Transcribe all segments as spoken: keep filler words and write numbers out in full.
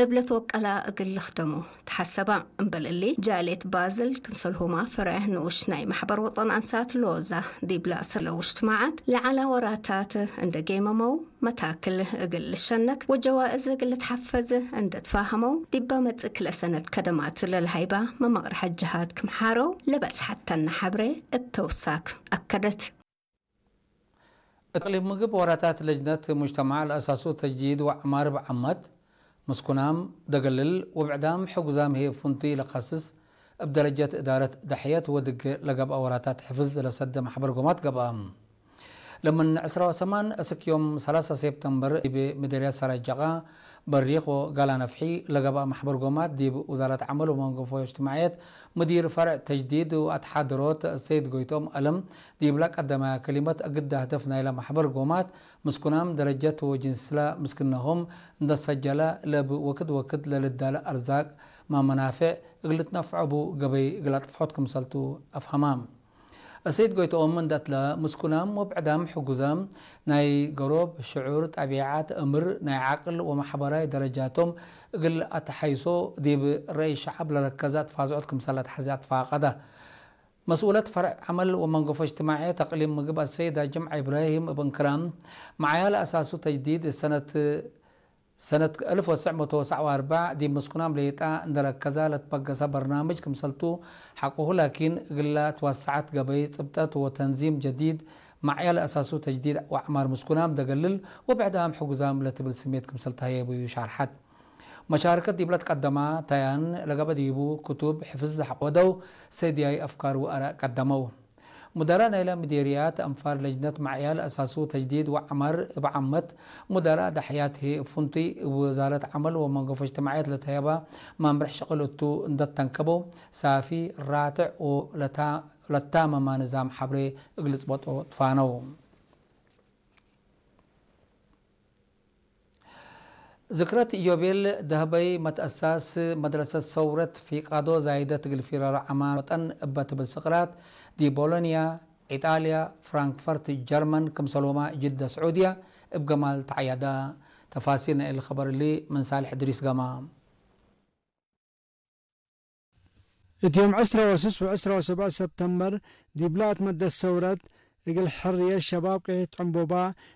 እብ ለትወቀላ እግል ልክደሞ ተሐሰባ። እምበል እሊ፣ ጃልየት ባዝል ክምሰልሁማ ፈሬዕ ንኡሽ ናይ መሕበር ወጠን አንሳት ሎዛ ዲብ ለአሰለው እጅትማዓት ለዐለ ወራታት እንደ ጌመመው፣ መታክል እግል ልሸነክ ወጀዋእዝ እግል ልትሐፈዝ እንደ ትፋሀመው፣ ዲበ መጽእ ክልኤ ሰነት ከደማት ለልሀይባ መመቅርሐት ጀሃት ክም ሓረው ለበጽሐተነ ሐብሬ እብ ተውሳክ አከደት። እቅሊም ምግብ ወራታት ለጅነት ሙጅተማዕ ለአሳሱ ተጅዲድ ወዐማር እብ ዓመት፣ ምስኩናም ደገልል ወብዕዳም ሕጉዛም ህዬ ፍንቱይ ለከስስ፣ እብ ደረጀት እዳረት ደሕየት ወድግ ለገብአ ወራታት ሕፍዝ ለሰደ መሕበር ጎማት ገብአ። ለምን ዕስራ ወሰማን እስክ ዮም ሰላሳ ሴፕተምበር ዲብ ምደርያት ሰራይ ጀቃ በሪክ ወጋላ ነፍሒ ለገብአ መሕበር ጎማት ዲብ ውዛረት ዐመል ወመንገፎ እጅትማዕየት ሙዲር ፈርዕ ተጅዲድ ወአትሓድሮት ሰይድ ጎይቶም አለም ዲብለ ቀደመ ከሊመት፣ እግደ ህደፍ ናይለ መሕበር ጎማት ምስኩናም ደረጀት ወጅንስለ ምስክነሆም እንደ ሰጀለ፣ ለብ ወክድ ወክድ ለልዳለ አርዛቅ ማመናፍዕ እግል ልትነፍዖ እቡ ገበይ እግል አጥፍሖት ክምሰልቱ አፍሀማም። እሰይድ ጎይትኦም እንደ እትለ፣ ምስኩናም ወብዕዳም ሕጉዛም ናይ ገሮብ፣ ሽዑር፣ ጠቢዐት፣ እምር፣ ናይ ዐቅል ወመሕበራይ ደረጃቶም እግል አትሐይሶ ዲብ ረአይ ሸዐብ ለረከዘ አትፋዝዖት ክምሰል ለትሐዜ አትፋቀደ። መስኡለት ፈርዕ ዐመል ወመንገፎ እጅትማዕየት አቅሊም ምግብ አሰይድ አጅምዐ ኢብራሂም እብ እንክራም፣ መዓያ ለአሳሱ ተጅዲድ ሰነት፣ ሰነት አልፍ ወትስዕ መቶ ወትስዕ ወአርበዕ ዲብ ምስኩናም ሌጣ እንደ ረከዛ ለትበገሰ በርናምጅ ክምሰልቱ ሐቆሁ፣ ላኪን እግላ ትወሰዐት ገበይ ጽብጠት ወተንዚም ጀዲድ፣ መዓያ ለአሳሱ ተጅዲድ ወአዕማር ምስኩናም ደገልል ወብዕዳም ሕጉዛም ለትብል ስሜት ክምሰል ተህየቡ ሻርሐት። መሻርከት ዲብለ ትቀደማ ተያን ለገብአ ዲቡ ክቱብ ሕፍዝ ሐቆ ወደው ሰድያይ አፍካር ወአራእ ቀደመው። ሙደራእ ናይለ ምዴርያት አንፋር ለጅነት መዕያል አሳሱ ተጅዲድ ወዐማር እብ ዓመት፣ ሙደራእ ደሕያት ህይ እብ ፍንቱይ እብ ወዛረት ዐመል ወመንገፎ እጅትማዕየት ለተህየባ መምርሕ ሽቅል እቱ እንደ ተንከበው፣ ሳፊ፣ ራትዕ ወለታ-፣ ለታመማ ንዛም ሐብሬ እግል ልጽበጦ ትፋነው። ዝክረት ኢዮቤል ደህበይ መትአሳስ መድረሰት ሰውረት ፊቃዶ ዛይደት እግል ፊራሮ ዐማር ወጠን እበ ትብል ስቅራት ዲብ ቦሎንያ፣ ኢጣልያ፣ ፍራንክፈርት ጀርመን፣ ክምሰልሁመ ጅደ ስዑድያ እብ ገማል ተዐየደ። ተፋሲል ናይ እሊ ከበር እሊ ምን ሳልሕ እድሪስ ገማ። እት ዮም ዕስረ ወስስ ወዕስረ ወሰብዕ ሰብተምበር፣ ዲብለ አትመደት ሰውረት እግል ሕርየት ሸባብ ቅሒት ዕንቦባ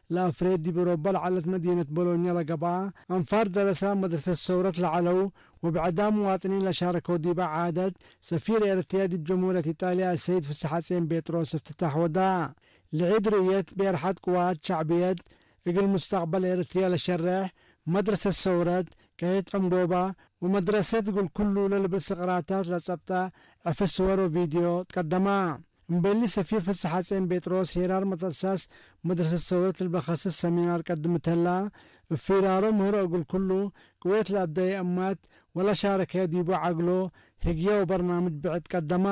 ለአፍሬት ዲብ እሮበ ለዐለት መዲነት ቦሎኛ ለገብአ አንፋር ደረሳ መድረሰት ሰውረት ለዐለው ወብዕዳም ሙዋጥኒን ለሻረከው ዲበ ዓደት፣ ሰፊር ኤረትርያ ዲብ ጀምሁርየት ኢጣልያ አሰይድ ፍስሐጼን ቤጥሮስ እፍትታሕ ወዳ። ለዒድ ርእየት ቤርሐት ቅዋት ሸዕብየት እግል ሙስተቅበል ኤረትርያ ለሸሬሕ መድረሰት ሰውረት ቅሒት ዕንቦባ ወመድረሰት እግል ኩሉ ለልብል ስቅራታት ለጸብጠ ዕፍስ ስወር ወቪድዮ ትቀደማ። እምበሊ ሰፊር ፍስሐጼን ቤጥሮስ ሄራር መትአሳስ መድረሰት ሰውረት እልበ ከስስ ሰሚናር ቀድምት ህላ፣ እብ ፊራሮ ምህሮ እግል ኩሉ ቅዌት ለአብደየ እማት ወለሻረከየ ዲቡ ዐግሎ ህግየ ወበርናምጅ ብዕድ ቀደማ።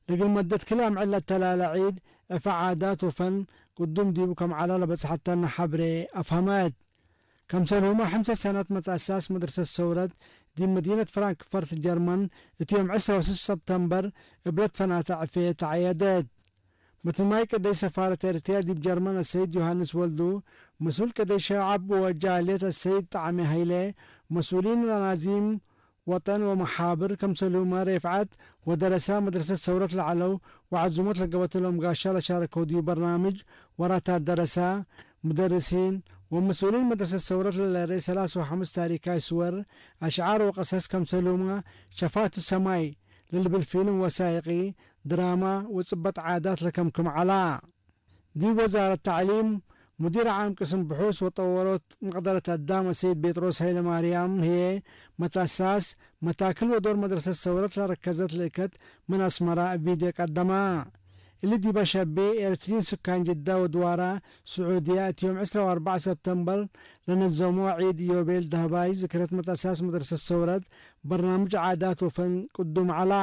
ለእግል መደት ክል አምዕል ለተላለ ዒድ፣ ዕፈ ዓዳት ወፈን ቅዱም ዲቡ ከም ዐለ ለበጽሐተነ ሐብሬ አፍሀመት። ከምሰልሁመ፣ ሕምሰ ሰነት መትአሳስ መድረሰት ሰውረት ዲብ መዲነት ፍራንክፈርት ጀርመን፣ እት ዮም ዕስረ ወስስ ሰብተምበር እብ ለትፈናተ ዕፌ ተዐየደት። መትማይ ቅደይ ሰፋረት ኤረትርያ ዲብ ጀርመን አሰይድ ዮሐንስ ወልዱ፣ መስኡል ቅደይ ሸዐብ ወጃልየት አሰይድ ጣዕሜ ሀይሌ፣ መስኡሊን ለናዚም ወጠን ወመሓብር፣ ከምሰልሁመ ሬፍዐት ወደረሳ መድረሰት ሰውረት ለዐለው ወዐዙመት ለገበተሎም ጋሻ ለሻረከው ዲብ በርናምጅ ወራታት ደረሳ፣ ሙደርሲን ወመስኡሊን መድረሰት ሰውረት ለለርኤ ሰላስ ወሐምስ ታሪካይ ስወር፣ አሽዓር ወቀሰስ፣ ከምሰልሁመ ሸፋቱ ሰማይ ለልብል ፊልም ወሳይቂ፣ ድራማ ወጽበጥ ዓዳት ለከምክም ዐላ። ዲብ ወዛረት ተዕሊም፣ ሙዲር ዓም ቅስም ብሑስ ወጠወሮት መቅደረት አዳም አሰይድ ቤጥሮስ ሀይለማርያም ህዬ፣ መትአሳስ መታክል ወዶር መድረሰት ሰውረት ለረከዘት ልእከት ምን አስመረ እብ ቪድዮ ቀደማ። እሊ ዲበ ሸቢ ኤረትርዪን ስካን ጅዳ ወድዋራ ስዑድያ፣ እት ዮም ዕስረ ወአርበዕ ሰብተምበር ለነዘሞ ዒድ ኢዮቤል ደህባይ ዝክረት መትአሳስ መድረሰት ሰውረት በርናምጅ ዓዳት ወፈን ቅዱም ዐላ።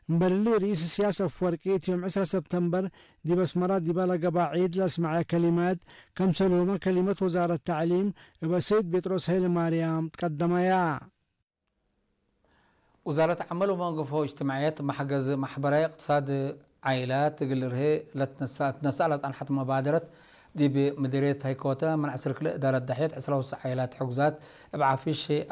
እምበል እሊ፣ ርኢስ እስያስ አፍወርቂ እት ዮም ዕስረ ሰብተምበር ዲብ አስመራ ዲበ ለገብአ ዒድ ለአስመዐ ከሊመት፣ ከምሰልሁመ ከሊመት ወዛረት ተዕሊም እብ አሰይድ ቤጥሮስ ሀይለማርያም ትቀደመያ። ውዛረት ዐመል ወመንገፎ እጅትማዕየት፣ መሕገዝ መሕበራይ እቅትሳድ ዓኢላት እግል ልርሄ ለትነሰአ፣ ትነሰአ ለጸንሐት መባደረት፣ ዲብ ምዲርየት ሀይኮተ ምን ዐስር ክልኤ እዳረት ደሕየት ዕስራ ወስስ ዓኢላት ሕጉዛት እብ ዓፊሽ